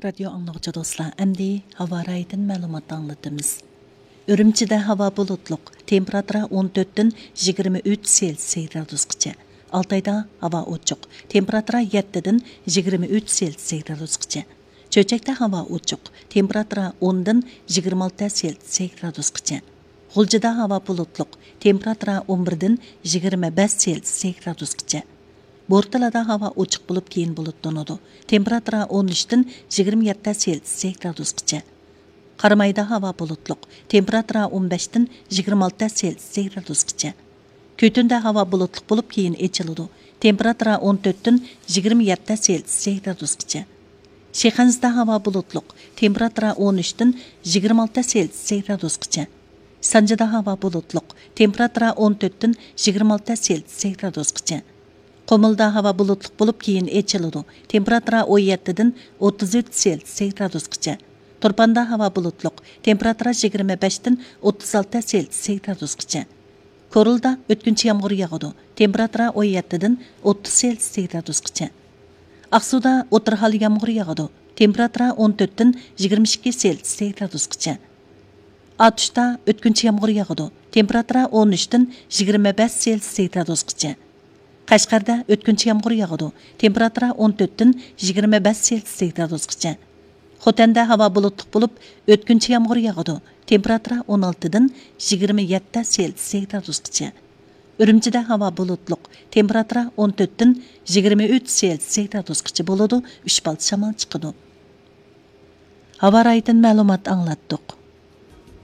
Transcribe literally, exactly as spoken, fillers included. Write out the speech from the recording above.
رادىيو ئاڭلىغۇچى دوستلار، ئەمدى ھاۋا رايىدىن مەلۇمات ئاڭلىتىمىز. ئۈرۈمچىدە ھاۋا بۇلۇتلۇق، تېمپېراتۇرا ئون تۆتتىن يىگىرمە ئۈچ سېلسىيە گرادۇسقىچە. ئالتايدا ھاۋا ئوچۇق، تېمپېراتۇرا يەتتىدىن يىگىرمە ئۈچ سېلسىيە گرادۇسقىچە. چۆچەكتە ھاۋا ئوچۇق، تېمپېراتۇرا ئوندىن يىگىرمە ئالتە سېلسىيە گرادۇسقىچە. غۇلجىدا ھاۋا بۇلۇتلۇق، تېمپېراتۇرا ئون بىردىن يىگىرمە بەش سېلسىيە گرادۇسقىچە. بورتالادا ھاۋا ئوچۇق بولۇپ، كېيىن بۇلۇتلىنىدۇ. تېمپېراتۇرا ئون ئۈچتىن يىگىرمە يەتتە سېلسىيە گرادۇسقىچە. قارامايدا ھاۋا بۇلۇتلۇق، تېمپېراتۇرا ئون بەشتىن يىگىرمە ئالتە سېلسىيە گرادۇسقىچە. كۈتۈندە ھاۋا بۇلۇتلۇق بولۇپ، كېيىن ئېچىلىدۇ. تېمپېراتۇرا ئون تۆتتىن يىگىرمە يەتتە سېلسىيە گرادۇسقىچە. شىخەنزىدە ھاۋا بۇلۇتلۇق، تېمپېراتۇرا ئون ئۈچتىن يىگىرمە ئالتە سېلسىيە گرادۇسقىچە. سانجىدا ھاۋا بۇلۇتلۇق، تېمپېراتۇرا ئون تۆتتىن يىگىرمە ئالتە سېلسىيە گرادۇسقىچە. قۇمۇلدا ھاۋا بۇلۇتلۇق بولۇپ، كېيىن ئېچىلىدۇ. تېمپېراتۇرا ئون يەتتىدىن ئوتتۇز ئۈچ سېلسىيە گرادۇسقىچە. تۇرپاندا ھاۋا بۇلۇتلۇق، تېمپېراتۇرا يىگىرمە بەشتىن ئوتتۇز ئالتە سېلسىيە گرادۇسقىچە. كورلىدا ئۆتكۈنچى يامغۇر ياغىدۇ. تېمپېراتۇرا ئون يەتتىدىن ئوتتۇز سېلسىيە گرادۇسقىچە. ئاقسۇدا ئوتتۇرا ھال يامغۇر ياغىدۇ. تېمپېراتۇرا ئون تۆتتىن يىگىرمە ئىككى سېلسىيە گرادۇسقىچە. ئاتۇشتا ئۆتكۈنچى يامغۇر ياغىدۇ. تېمپېراتۇرا ئون ئۈچتىن يىگىرمە بەش سېلسىيە گرادۇسقىچە. قەشقەردە ئۆتكۈنچى يامغۇر ياغىدۇ. تېمپېراتۇرا ئون تۆتتىن يىگىرمە بەش سېلسىيە گرادۇسقىچە. خوتەندە ھاۋا بۇلۇتلۇق بولۇپ، ئۆتكۈنچى يامغۇر ياغىدۇ. تېمپېراتۇرا ئون ئالتىدىن يىگىرمە يەتتە سېلسىيە گرادۇسقىچە. ئۈرۈمچىدە ھاۋا بۇلۇتلۇق. تېمپېراتۇرا ئون تۆتتىن يىگىرمە ئۈچ سېلسىيە گرادۇسقىچە بولىدۇ، ئۈچ بالدىر شامال چىقىدۇ. ھاۋا رايىدىن مەلۇمات ئاڭلاتتۇق.